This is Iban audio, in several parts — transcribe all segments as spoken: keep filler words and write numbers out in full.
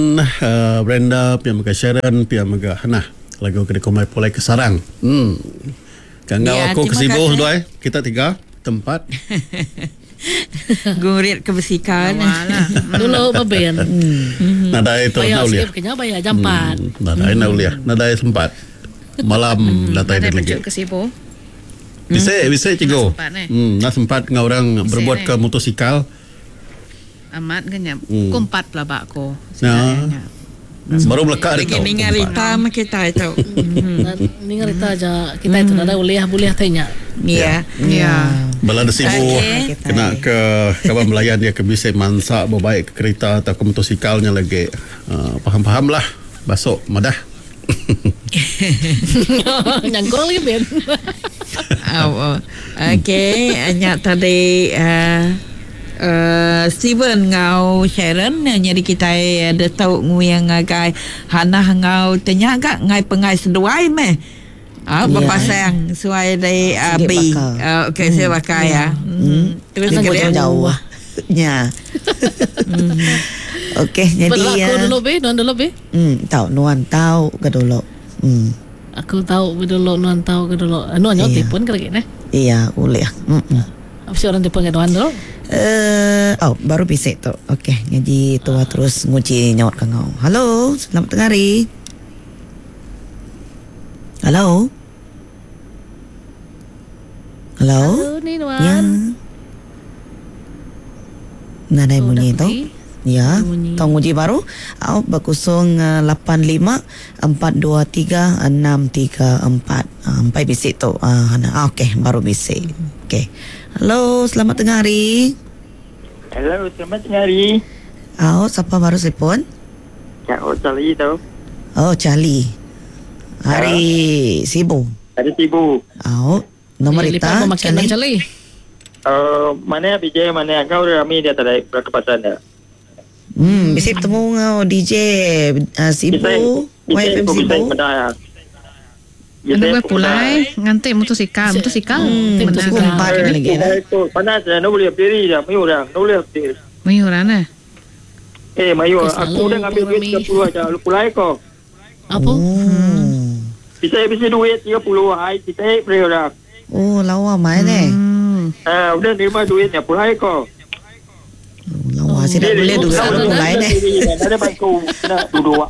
uh, Brenda, pia mega Sharon, pia mega Hannah. Lagu ke dikumbai Pulai ke Sarang. Hmm. Ka enggau Ya, aku ke terima Sibu kasih. seduai, kita tiga tempat. Gurit ke besikan. Dulu babin. Nadai tu Bayar nak ulih. sikit kena bayar jampat. Hmm, nadai nak ulih, nadai sempat. Malam datai Nadai dia lagi. pejuk ke Sibu. Bisa bisa cikgu. Nak sempat, eh? Hmm, nak sempat ngau orang Bisa, berbuat eh? ke motosikal. Amat ke nya. Hmm. Ku empat pelabak ko. Ya. Baru melekat Lagi dia tu. ninga rita mah kita itu. Ninga rita aja kita itu nadai ulih boleh tanya. Ya. Ya. Bala ada Sibu Okey. kena ke kawan belayan dia ke bisa mansak berbaik ke kereta atau ke motosikalnya lagi. Uh, faham-faham lah. Basok madah. Nyangkul lagi ben. Oh, oh. Okey, nya tadi uh, uh, Steven ngau Sharon jadi kita ada tahu nguyang ngagai Hannah ngau tanya gak ngai pengai seduai meh. Ah, Ya. berpasang suai dari uh, Sikit B. bakal. Uh, okey, saya bakal ya. Hmm. Terus Dia ke dia. jauh-jauh. Ya. Okey, jadi Berlaku ya. dulu be, nuan dulu be. Hmm, tahu nuan tahu ke dulu. Hmm. Aku tahu be dulu nuan tahu ke dulu. Nuan nyawa Iya. telefon ke lagi neh. Iya, boleh. Hmm. Apa sih orang telefon ke nuan dulu? Eh, oh, baru bisik tu. Okey, jadi tua terus nguji nyaut ke ngau. Halo, selamat tengah hari. Halo. Halo. Halo ni nuan. Ya. Nadai Oh, bunyi dah tu. pergi. Ya, Bunyi. tong uji baru. Au berkusung uh, lapan lima empat dua tiga enam tiga empat. Ah, Empat bisik tu. Ah, Hana. Ah, okey, baru bisik. Okey. Halo, selamat tengah hari. Hello, selamat tengah hari. Au, siapa baru telefon? Kak Oh, Charlie tu. Oh, Charlie. Hari Sibu. Hari Sibu. Au, nombor Eh, ita lipat mau makan Charlie. Charlie. Uh, mana B J, mana kau rami dia tak ada berkepasan dia. Hmm, bisik temu ngau D J uh, Sibu, Y F M Bisa, Sibu. bisa, ya. Anu gue pulai nganti motosikal, motosikal. Hmm, Benar. pukul empat lagi lah. Itu panas dah, no boleh berdiri dah, mayu dah, no boleh berdiri. Mayuran eh. Eh, mayu, Okey, aku selalu dah ngambil duit rami. tiga puluh aja, lu pulai kau. Apa? Oh. Bisa bisa duit tiga puluh, ai kita beri dah. Oh, lawa mai ni. Hmm. Ah, udah terima duitnya, pulai kau. Lawa sih dah boleh duit Tahu aku pulai ni. Ada bantu nak duduk.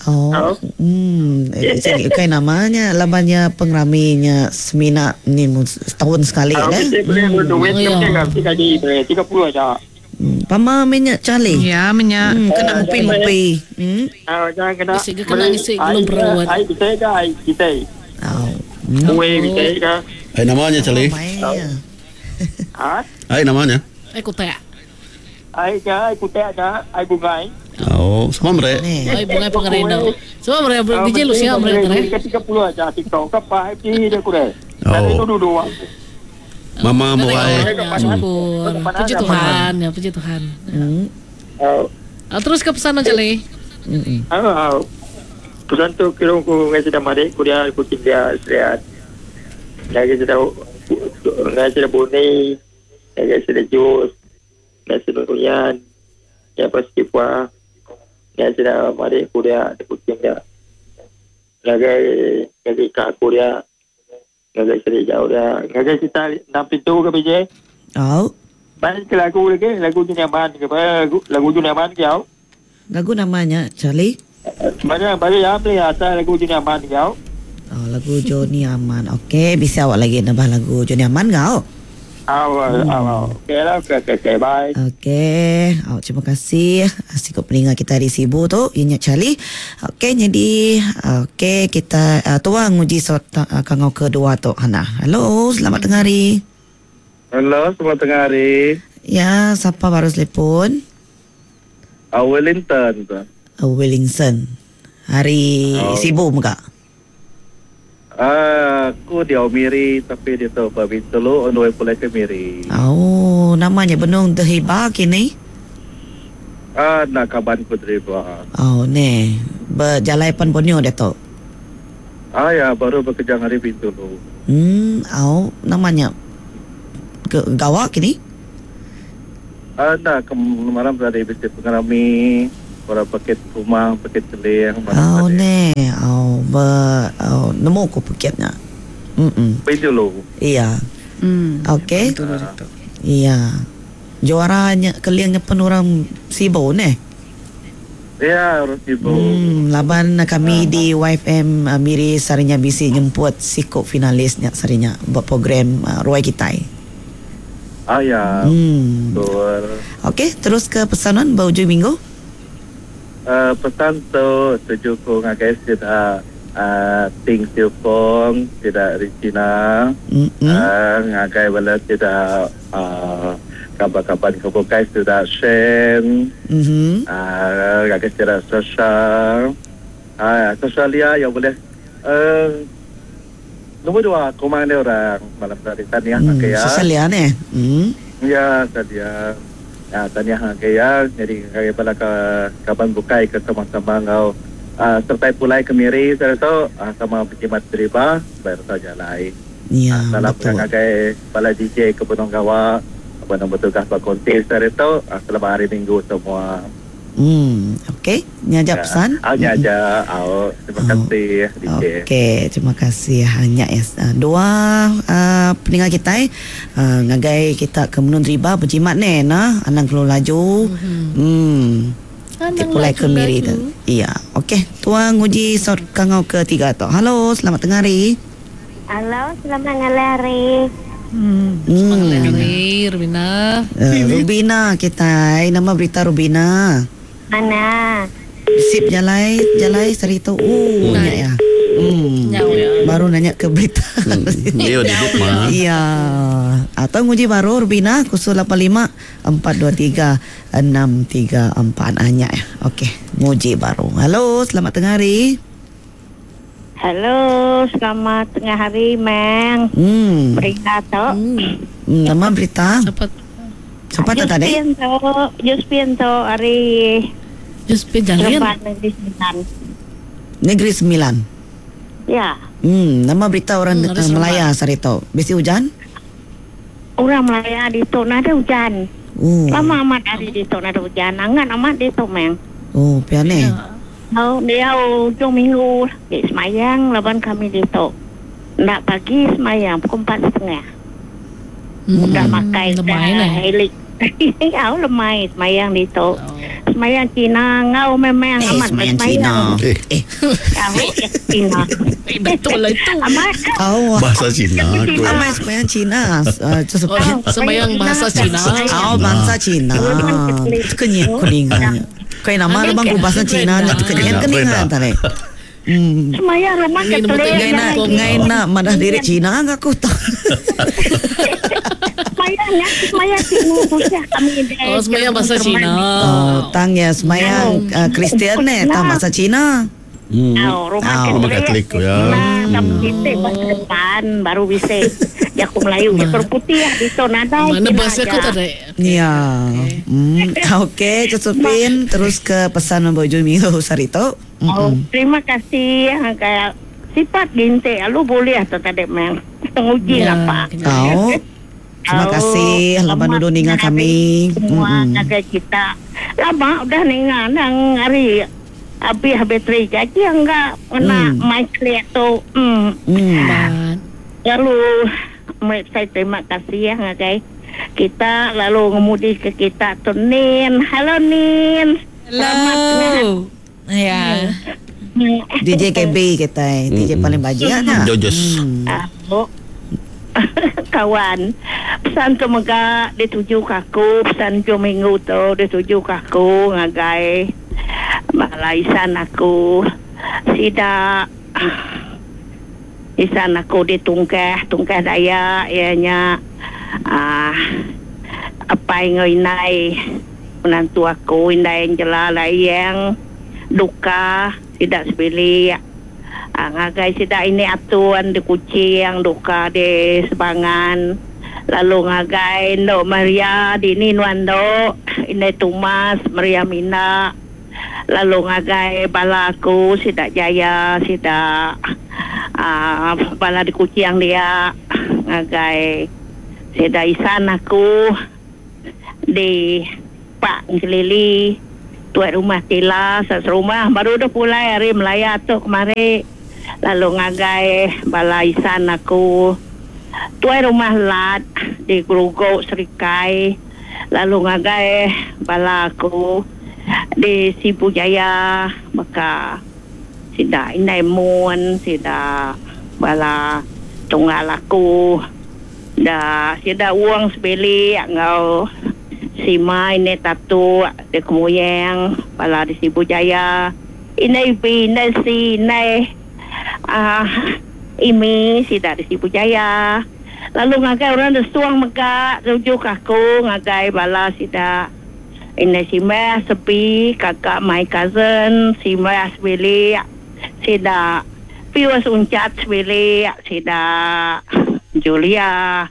Oh. Hmm, eh, jadi kai namanya labannya pengraminya semina ni mu- setahun sekali Ah, dah. bisa beli duit Oh, ya. tiga gaji beri tiga puluh aja. Hmm, pama minyak Charlie. Ya, minyak. Hmm, kena mupi-mupi. Hmm. Ah, jangan kena. Isi ke kena isi belum berawat. Ai bisa ke ai kita. Oh. Hmm. Kue bisa ke? Ai namanya Charlie. Mai. ya. Ha? Ai namanya. Eh kutek. Ai ke ai kutek ke ai bungai. Oh, semua mereka. Ni. Oi bungai pengerindu. Semua mereka D J lu siapa mereka eh? Ke tiga puluh aja TikTok ke apa ai dia kurang. Oh. Dari itu duduk. Mama muai. Ya, syukur. Puji Tuhan ya, puji Tuhan. Hmm. Ah, Ah, terus ke pesan Charlie. Hmm. ah. Pesan tu kira ku ngai sedang mari ku dia ku dia seriat. Lagi sedang ngai sedang buni, lagi sedang jus, ngai sedang kuyan, ya pasti puah. Ngai sedang mari ku dia kucing dia. Lagi lagi kak ku dia. Lagi sedang jauh dia. Lagi kita enam pintu ke B J? Oh. Main ke lagu lagi, lagu dunia man ke apa? Lagu, lagu dunia man ke kau? Lagu namanya Charlie. Mana bagi apa ni asal lagu dunia man ke kau? Oh, lagu Johnny Aman. Okey, bisa awak lagi nambah lagu Johnny Aman kau? Awal, awal. Okey lah, okey, okey, okey, bye. Okey, oh, terima kasih sikap peningat kita di Sibu tu, Inya Charlie. Okey, jadi okey kita uh, tuang uji sot uh, kangau kedua tu Hana. Halo, selamat tengah hari. Halo, selamat tengah hari. Ya, siapa baru telefon? Uh, Wellington. tu. Uh, Wellington. Hari Oh. Sibu muka. Ah, aku di Miri tapi dia tahu Pak Bintulu on the way pulai ke Miri. Oh, namanya Benung Terhiba kini. Ah, nak kaban ku driver. Oh, ni. Berjalai pan Borneo dia tu. Ah ya, baru bekerja hari Bintulu. Hmm, oh, namanya ke gawak kini. Ah, nak kemalam tadi bisik pengarami. Orang paket rumah, paket keling. Oh ne, oh be oh, nemu ku paketnya. Mm. Bintulu. Iya. Hmm. Okey. Iya. Juaranya kelingnya pun orang Sibu ne. Ya, orang Sibu. Hmm, laban kami di Y F M uh, Miri sarinya bisi nyemput sikop finalisnya sarinya buat program uh, Ruai Kitai. Ah ya. Hmm. Betul. Okey, terus ke pesanan berujung minggu. Uh, pesan tu tuju ku ngagai sida uh, Ting Siu Kong, sida Regina, Mm-mm. uh, ngagai bala sida uh, kaban-kaban kebukai sida Shen, Mhm. uh, ngagai sida Sasha, uh, Sasha Lia yang boleh uh, nombor dua kumang dia orang malam tadi tadi Hmm, okay, ya. Sasha Lia ne. Hmm. Ya, tadi ya. Ya, tanya hang ya. Jadi kaya pala ke kaban bukai ke sama-sama ngau uh, sertai pulai ke Miri saya tu uh, sama pejimat deriba bayar saja lai. Ya, Salam betul. ngagai bala D J ke Benong Gawa apa nama tugas pak konti saya tu uh, selamat hari Minggu semua. Hmm, okey. Ni aja pesan. Ah, ni aja. Oh, terima kasih D J. Okey, terima kasih hanya ya. Dua uh, pendengar kita uh, ngagai kita ke menun riba berjimat ne nah, anang keluar laju. Hmm. Anang Pulai ke Miri laju-laju. tu. Iya, okey. Tuan nguji sot kangau ketiga tu. Halo, selamat tengah hari. Halo, selamat ngalari. Hmm. Hmm. Hari Rubina. Uh, Rubina kita, nama berita Rubina. Mana? Sip jalai, jalai seri tu. Oh, nanya ya. Hmm. Nyau ya. Baru nanya ke berita. Dia duduk mah. Iya. Atau nguji baru Rubina khusus lapan lima empat dua tiga enam tiga empat hanya ya. Okey, nguji baru. Halo, selamat tengah hari. Halo, selamat tengah hari, Meng. Hmm. Berita tu. Hmm. Hmm, nama berita. Siapa? Siapa tu tadi? Josephine tu, Josephine tu hari Josephine Jalin. Seremban Negeri Sembilan. Negeri Sembilan. Ya, Hmm, nama berita orang Hmm, hmm, dari Melaya Sarito. Besi hujan? orang Melaya di tu nada hujan. Oh. Lama amat hari di tu nada hujan. Angan amat di tu, Meng. Oh, piane. Ya. Oh, dia ujung minggu di semayang laban kami di tu. Nak pagi semayang pukul empat setengah. Hmm. Udah makai Lemai dah lah. helik. Au lemai semayang di tu. Oh. Semayang Cina ngau memang Eh, amat semayang Cina. Eh. Eh, Au Cina. Eh, betul lah itu. Amat oh. Bahasa Cina aku. Amai semayang Cina. Uh, Oh, sembahyang bahasa Cina. Oh, bangsa Cina. Kenyit kuningan. Kau nama Ambil lu bang ke- bahasa Cina Brenda. kenyit Kena, keningan Brenda. tadi. Hmm. semayang rumah Ini Katolik. nombor Ngai nak ngai nak madah diri Cina enggak aku tak. Semayangnya semayang Cina khususnya kami di Oh, sembahyang bahasa Cina. Oh, tang ya semayang uh, Kristian ne tang bahasa Cina. Hmm. Oh, rumah Oh. Rumah Katolik, ya. Nah, tapi kita bahasa depan baru bisa jaku Melayu, jaku putih ya di tu nadai. Mana Cina bahasa aku aja. tadi? Ya. Hmm, okey, Josephine terus ke pesan Bojo Minggu Sarito. Oh, Mm-mm. terima kasih kayak sifat ginte lu boleh atau tadi meng nguji Ya, lah pak. kena. Oh. Terima Oh, kasih laban selamat nuduh ninga tengah hari kami. Semua Mm-mm. ngagai kita. Lama udah ninga nang hari habis bateri jadi enggak kena Hmm. mic clear tu. Hmm. Hmm. Man. Lalu saya terima kasih ya ngagai kita lalu ngemudi ke kita tu Nin. Halo Nin. Selamat tengah Hello. Ya. D J K B kita, eh. D J Mm-mm. paling bajian ya. Jojes. Hmm. Aku kawan pesan tu mega dituju ke aku pesan tu minggu tu dituju ke aku ngagai malaisan aku sida isan aku di tungkah tungkah daya ianya ah apa yang inai menantu aku indai Angela layang duka tidak sebilik Ah, ngagai sida ini atuan di kucing duka di sebangan lalu ngagai Ndok Maria di ni nuan Ndok ini Tumas Maria Mina lalu ngagai bala aku sida Jaya sida ah, bala di kucing dia ngagai sida Isan aku di Pak Ngelili Tuai rumah Tila serumah baru dah pulai hari Melaya tu kemari. Lalu ngagai bala isan aku tuai rumah Lat di Gerugo Serikai. Lalu ngagai bala aku di Sibu Jaya maka sida Indai Mun, sida bala tunggal aku da sida Wong Sebilik ngau Sima ini Tatu di Kemuyang bala di Sibu Jaya, Indai B, Indai C, Indai uh, Imi sida di Sibu Jaya. Lalu ngagai orang desuang mega rujuk aku ngagai bala sida Indai Simah Sepi, kakak my cousin Simah Sebilik, sida Pius Uncat Sebilik, sida Julia.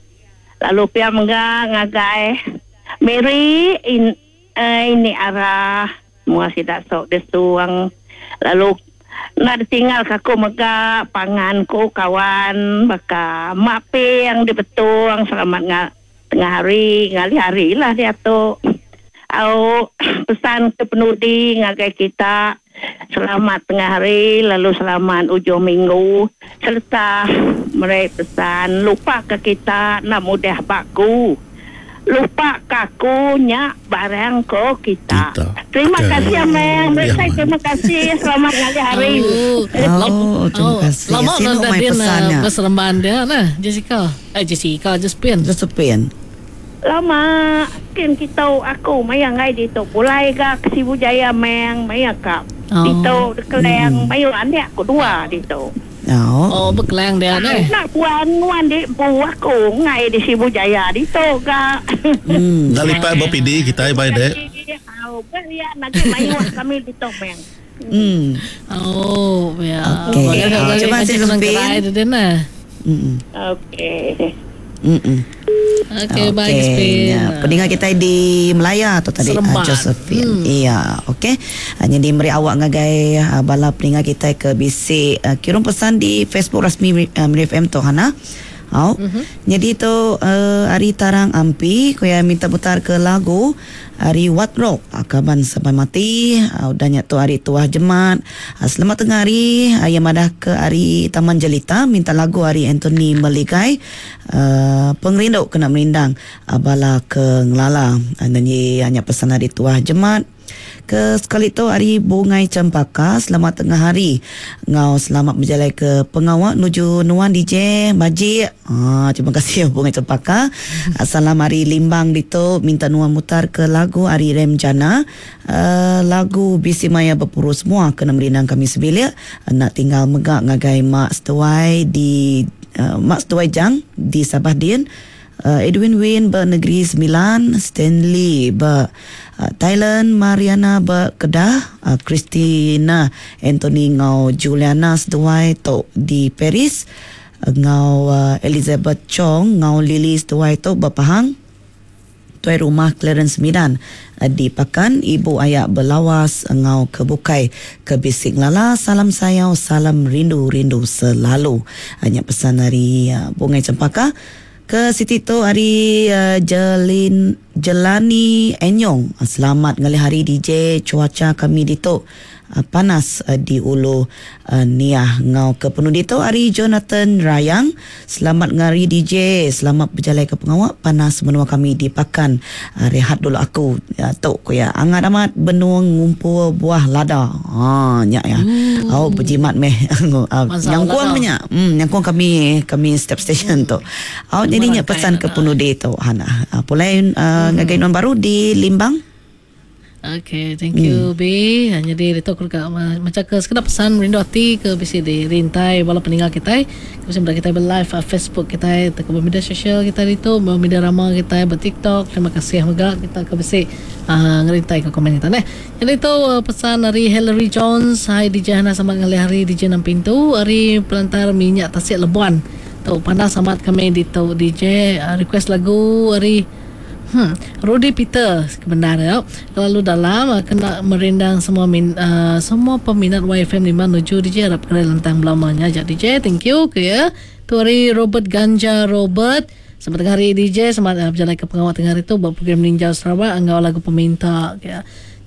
Lalu pia mega ngagai Mary in, uh, ini arah semua sida sok desuang. Lalu nak ditinggal aku mega panganku kawan baka mak P yang di Betung selamat nga, tengah hari ngali hari lah dia tu. Au pesan ke penudi ngagai kita selamat tengah hari lalu selamat ujung minggu serta mereka pesan lupa ke kita nak mudah baku. Lupa kaku nyak barang ko kita. kita. Terima okay. kasih Ameng. Ya, terima kasih. Selamat ngali hari. Oh, oh terima kasih. Lama dah dia nak berseremban dia nah, Jessica. Eh Jessica Josephine. Josephine. Lama kin kita aku maya ngai di tu pulai ga ke Sibu Jaya meng maya ka. Oh. Di tu dekeleng hmm. mayu anak aku dua di tu. Oh, oh berkelang dia ni. Nak puan nguan di bu aku ngai di Sibu Jaya di tu ga. Hmm, dah lipat B P D kita bai dek. Au, beria lagi mayu kami di tu meng. Hmm. Oh, ya. Okey. Terima kasih Josephine. Hmm. Okey. Hmm. Okey, bye Josephine. Ya, pendengar kita di Melaya tu tadi uh, Josephine. Hmm. Iya, okey. Jadi meri awak ngagai uh, bala pendengar kita ke bisi uh, kirim pesan di Facebook rasmi uh, Miri F M tu Hana. Oh. Mm-hmm. Jadi tu uh, hari Tarang Ampi ko ya minta putar ke lagu hari What Rock Akaban Sampai Mati. Uh, udahnya tu hari Tuah Jemat. Uh, selamat tengah hari uh, yang madah ke hari Taman Jelita minta lagu hari Anthony Meligai uh, Pengerindu kena merindang uh, bala ke ngelala. Uh, nyanyi hanya pesan hari Tuah Jemat. Ke sekali tu hari Bungai Cempaka selamat tengah hari ngau selamat berjalan ke pengawak nuju nuan D J Majik. Ah, terima kasih Bungai Cempaka. Salam hari Limbang dito minta nuan mutar ke lagu hari Rem Jana uh, lagu Bisi Maya Berpuru semua kena merindang kami sebilik nak tinggal megak ngagai Mak Setuai di uh, Mak Setuai Jang di Sabah Din. Uh, Edwin Win ber Negeri Sembilan, Stanley ber uh, Thailand, Mariana ber Kedah, uh, Christina Anthony ngau Juliana seduai tu di Paris, uh, ngau uh, Elizabeth Chong ngau Lily seduai tu ber Pahang. Tuai rumah Clarence Midan di Pakan, ibu ayak berlawas ngau kebukai ke bisik lala, salam sayau, salam rindu-rindu selalu. Hanya pesan dari uh, Bungai Cempaka. Ke Siti tu hari uh, Jelin Jelani Enyong. Selamat ngalih hari D J, cuaca kami di tu uh, panas uh, di Ulu uh, Niah. Ngau ke penudi tu hari Jonathan Rayang. Selamat ngari D J, selamat berjalan ke pengawak panas menua kami di Pakan. Uh, rehat dulu aku uh, tok ko ya. Angat amat benung ngumpul buah lada. Ha nyak ya. Hmm. Oh berjimat meh. uh, nyangkuang banyak. Hmm nyangkuang kami kami step station tu. Oh jadi nyak pesan ke penudi tu Hana. Uh, pulai uh, hmm. ngagai non baru di Limbang. Okay, thank you hmm. B. Jadi itu aku dekat macam ke sekedar pesan rindu hati ke B C D rintai bala peninggal kita. Ke kita kita live Facebook kita, ke media sosial kita itu, media rama kita, ber TikTok. Terima kasih juga kita ke B C uh, ngerintai ke komen kita neh. Jadi itu uh, pesan dari Hillary Jones, hai D J Hana sama ngalih hari D J enam pintu, hari pelantar minyak Tasik Lebuan. Tu panas amat kami di tu D J uh, request lagu hari Hmm, Rudy Peter kebenar ya. Terlalu dalam kena merindang semua min, uh, semua peminat Y F M lima menuju D J harap kena lentang belamanya. Jadi D J thank you ke ya. Tu hari Robert Ganja Robert. Selamat tengah hari D J, selamat uh, berjalan ke pengawal tengah hari tu buat program Ninja Sarawak angau lagu peminta ke ya.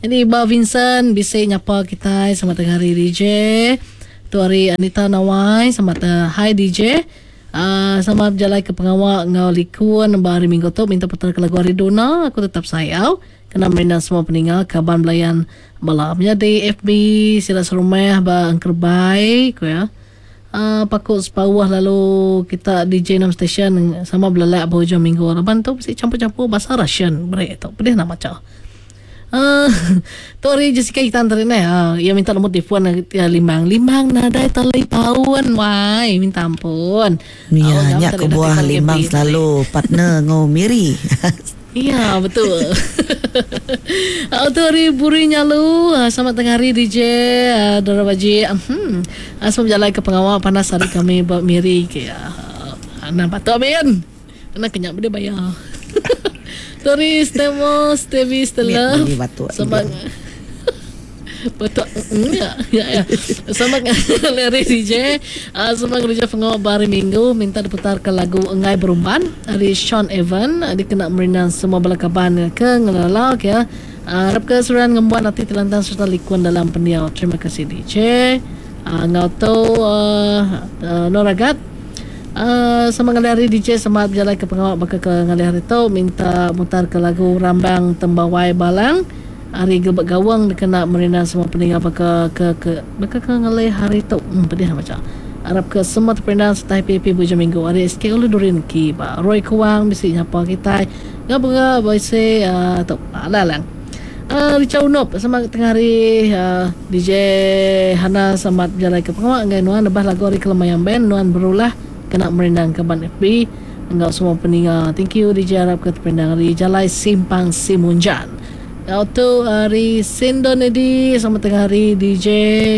Jadi Ba Vincent bisa nyapa kita selamat tengah hari D J. Tu hari Anita Nawai selamat uh, hi D J. Uh, selamat berjalan ke pengawal ngau likun hari minggu tu minta putar ke lagu hari Dona aku tetap sayau. Kena merindang semua peninggal kaban belayan bala menjadi F B sila serumah ba angkerbai ku ya. Uh, pakut sepawah lalu kita D J enam station sama belelak berhujung minggu leban tu mesti campur-campur bahasa Russian break tu pedih nak baca. Uh, tu hari Jessica kita hantar ni uh, ia minta nombor telefon uh, limbang limbang nadai telefon wai minta ampun. Ya, nyak ke buah limbang selalu partner ngau miri. Ya betul. Tu hari buri nyalu. Selamat tengah hari D J Dora Baji. Hmm. Selamat berjalan ke pengawal panas hari kami buat miri ke. Nampak tu amin. Kena kenyak benda bayar. Tu hari Stemo Stevie Stella. Selamat betul. Ya, ya, ya. Selamat hari D J. Selamat kerja pengawal hari Minggu minta diputar ke lagu Enggai Berumban dari Sean Evan dikena merindang semua bala kaban ke ngelalak ya. Harap ke suran ngembuan hati telantang serta likun dalam pendiau. Terima kasih D J. Ngau tu Noragat. Uh, sama ngalih hari D J selamat berjalan ke pengawal bakal ke ngalih hari tu minta mutar ke lagu Rambang Tembawai Balang hari Gelbak Gawang dikena merindang semua peninggal baka ke ke baka ke ngalih hari tu. Hmm, pedih nak baca. Harap ke semua terperindang serta happy-happy hujung minggu. Hari S K Ulu Durin Ki ba Roy Kuang bisi nyapa kita. Ngapa bisi uh, tu alalang. Uh, Richard Unop sama tengah hari uh, D J Hana selamat berjalan ke pengawal ngai nuan lebah lagu hari Kelemayang Band nuan berulah kena merindang kaban F B enggau semua peninga. Thank you D J harap ke terperindang hari Jalai Simpang Simunjan. Ngau tu hari Sindon Edi selamat tengah hari D J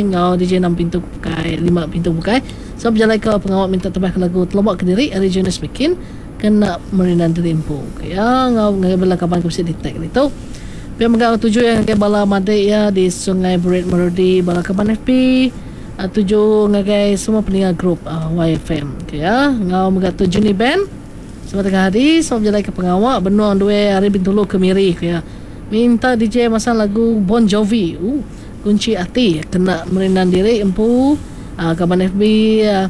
ngau D J enam pintu bukai lima pintu bukai. So berjalan ke pengawal minta tebah ke lagu Telobok Kediri hari Jonas Bikin kena merindang diri empu. Ya ngau ngai bela kaban ke di tag itu. Biar menggau tuju yang ke bala madek ya di Sungai Berit Merudi bala kaban F B uh, tuju ngagai semua peninga grup uh, Y F M. Okay, ya ngau menggau tuju ni band. Selamat tengah hari selamat berjalan ke pengawal benuang dua hari Bintulu ke Miri ya. Minta D J masang lagu Bon Jovi. Uh, kunci hati kena merindang diri empu uh, kaban F B uh,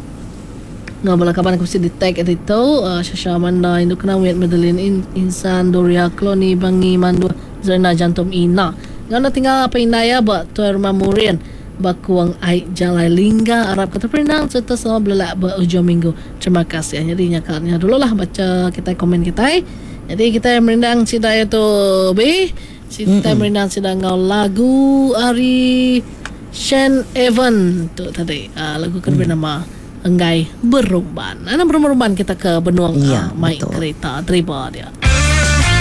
ngau bala kaban aku mesti di tag itu uh, Shasha Amanda Induk Kenawit Madeline In, Insan Doria Kloni Bangi Mandu Zerna Jantum Ina. Ngau nak tinggal apa Inaya buat tuan rumah Murian Bakuang Aik Jalai Lingga Arab kata perindang serta semua belelak berujung minggu. Terima kasih. Jadi nyakalnya dulu lah baca kita komen kita. Jadi kita merindang sida itu B. Kita mm-hmm. merindang sida ngau lagu ari Sean Evan tu tadi. Uh, lagu kan mm. bernama Enggai Berumban. Ana berumban kita ke Benuang ya, uh, mai kereta terima dia.